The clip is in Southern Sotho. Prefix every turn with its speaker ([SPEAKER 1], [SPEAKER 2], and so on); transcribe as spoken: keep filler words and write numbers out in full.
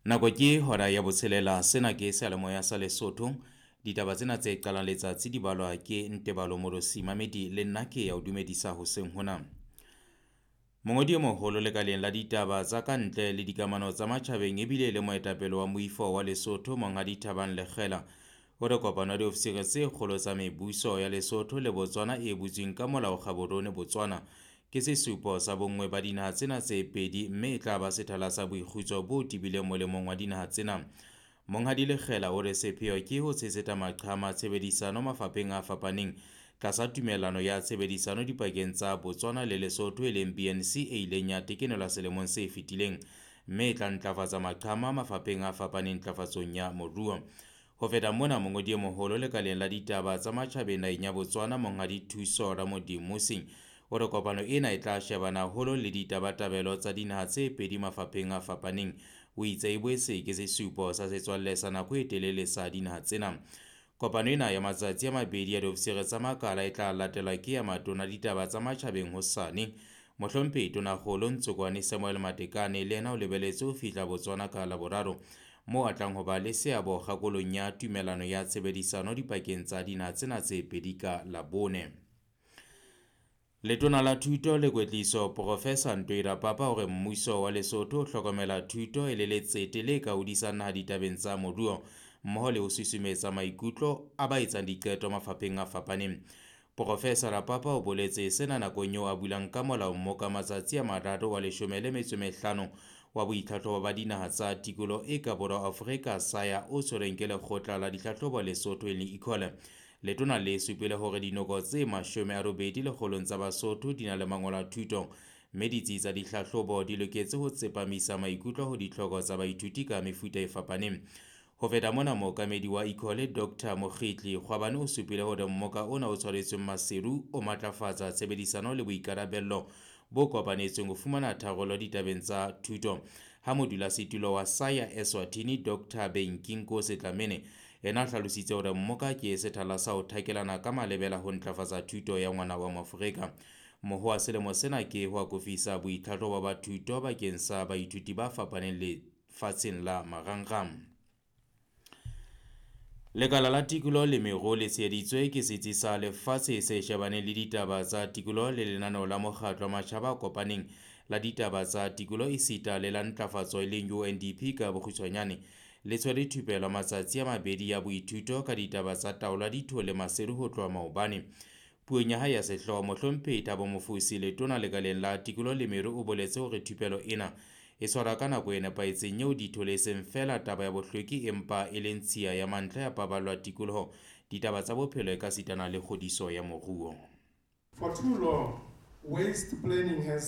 [SPEAKER 1] Nako ke hora ya botshelela, sena ke seyalemoya sa Lesotho. Ditaba tsena tse qalang letsatsi di balwa ke Ntebalo Morosi Mamedi le nna ke ya o dumedisa hoseng hona. Mongodi e moholo lekaleng la ditaba tsa ka ntle le dikamano tsa matjhabeng ebile le moetapele wa moifo wa Lesotho Monghadi Thabang Lekgela o re kopano ya diofisiri tse kgolo tsa mebuso ya Lesotho le Botswana e butsweng ka molao Gaborone Botswana ke sesupo sa bonngwe ba dinaha tsena tse pedi mme e tla ba sethala sa boikgutso bo tebileng molemong wa dinaha tsena. Monghadi Lekgela o re sepheo ke ho tshehetsa maqhama tshebedisano mafapheng a fapaneng tlasa tumellano ya tshebedisano dipakeng tsa Botswana le Lesotho e leng B N C e ileng ya tekenelwa selemong se fetileng mme e tla ntlafatsa maqhama mafapheng a fapaneng ntlafatsong ya moruo. Ho feta mona, mongodi e moholo lekaleng la ditaba tsa matjhabeng naheng ya Botswana Monghadi Thuso Ramodimosing o re kopano ena e tla shebana haholo le ditabatabelo tsa dinaha tse pedi mafapheng a fapaneng. O itse e boetse ke sesupo sa setswalle sa nako e telele sa dinaha tsena. Kopano ena ya matsatsi a mabedi ya diofisiri tsa makala e tla latelwa ke ya matona ditaba tsa matjhabeng hosane. Mohlomphehi Tonakgolo Ntsokwane Samuel Matekane le yena o lebeletse ho fihla Botswana ka Laboraro moo a tlang ho ba le seabo kgakolong ya tumellano ya tshebedisano dipakeng tsa dinaha tsena tse pedi ka Labone. Letona la Thuto le Kwetliso Professor Ntoi Rapapa hore mmuso wa Lesotho o hlokomela thuto e le letsete le ka hodisang naha ditabeng tsa moruo mmoho le ho susumetsa maikutlo a ba etsang diqeto mafapheng a fapaneng. Professor Rapapa o boletse sena nakong eo a bulang ka molao mmoka matsatsi a mararo wa leshome le metso e mehlano wa boitlhatlhobo ba dinaha tsa tikoloho e ka borwa Afrika SAYA o tshwerweng ke lekgotla la ditlhahlobo Lesotho e leng ECOLE. Letona le supile hore dinoko tse mashome a robedi lekgolong tsa Basotho di na le mangolo a thuto mme ditsi tsa dihlahlobo di loketse ho tsepamisa maikutlo ho ditlhoko tsa baithuti ka mefuta e fapaneng. Ho feta mona, mookamedi wa ECOLE Doctor Mokgitli Kgwabane o supile hore mmoka ona o tshwaretsweng Maseru o matlafatsa tshebedisano le boikarabello bo kopanetsweng ho fumana tharollo ditabeng tsa thuto. Ha modulasetulo wa SAYA Eswatini Doctor Benkinkosi Dlamini yena a hlalositse hore mmoka ke sethala sa ho thakelana ka malebela ho ntlafatsa thuto ya ngwana wa Moafrika. Moho wa selemo sena ke ho akofisa boitlhatlhobo ba thuto bakeng sa baithuti ba fapaneng lefatsheng la marangrang. Lekala la tikoloho le meruo le tsheheditswe ke setsi sa lefatshe se shebaneng le ditaba tsa tikoloho le lenaneo la mokgatlo wa matjhaba a kopaneng la ditaba tsa tikoloho esita le la ntlafatso e leng U N D P ka bokgutshwanyane. Le tshwere thupelo matsatsi a mabedi ya boithuto ka ditaba tsa taolo ya dithole Maseru ho tloha maobane. Puong ya hae ya sehlooho, Mohlomphehi Thabo Mofosi letona lekaleng la tikoloho le meruo o boletse hore thupelo ena e tshwarwa ka nako e nepahetseng eo dithole e seng feela taba ya bohlweki empa e leng tshiya ya mantlha ya paballo ya tikoloho, ditaba tsa bophelo ekasitana le kgodiso ya moruo.
[SPEAKER 2] For too long, waste planning has